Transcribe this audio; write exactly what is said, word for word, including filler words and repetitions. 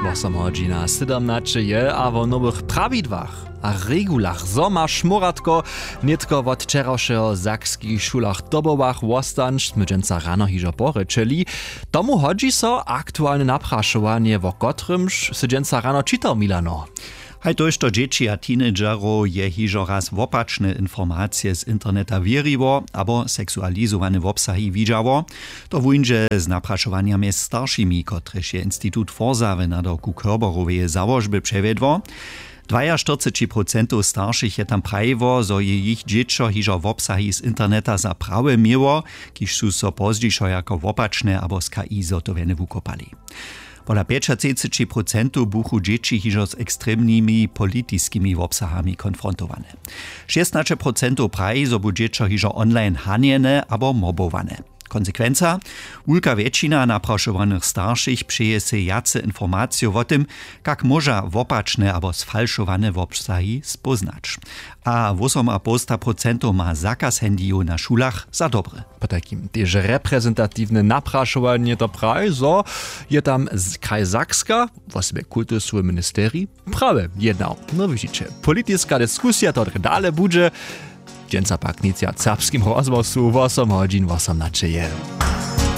Wosom hodźina sydomnaće je a wo nowych prawidłach a regulach zo ma šmóratko nětko wot wčerawšeho w sakskich šulach dobowach wostanć smy dźensa rano hižo porěčeli. Tomu hodźi so aktualne naprašowanje wo kotrymž sy dźensa rano čitał milano. Haj tójšto dźěći a teenagerow je hižo raz wopačne informacije z interneta wěriło abo seksualizowane wobsahi widźało. To wóńdźe z naprašowanjami staršimi kotrež je institut forsa w nadawku körberoweje załožby přewjedło. Dwajaštyrceći procentow staršich je tam prajiło zo je jich dźěćo hižo wobsahi z interneta za prawe měło, kiž su so pozdźišo jako wopačne abo z ki zhotowjene wukopali. Pola pjećatřiceći procentow buchu dźěći hižo z ekstremnymi politiskimi wobsahami konfrontowane. Šěstnaće procentow praji zo bu dźěćo hižo online hanjene abo mobowane. Konsekwenca: wulka wjetšina naprašowanych staršich přeje sej wjace informacijow wo tym, kak móža wopačne abo sfalšowane wobsahi spóznać. A wósomapołsta procentow ma zakaz handyjow na šulach za dobre. Potajkim tež reprezentatiwne naprašowanje to praji zo je tam kraj sakska wosebje kultusowy ministerij prawy jednał. No widźiće, politiska diskusija to drje dale budźe. Dźensa pak nic wjac w serbskim rozhłosu wosom hodźin wosom naćeje.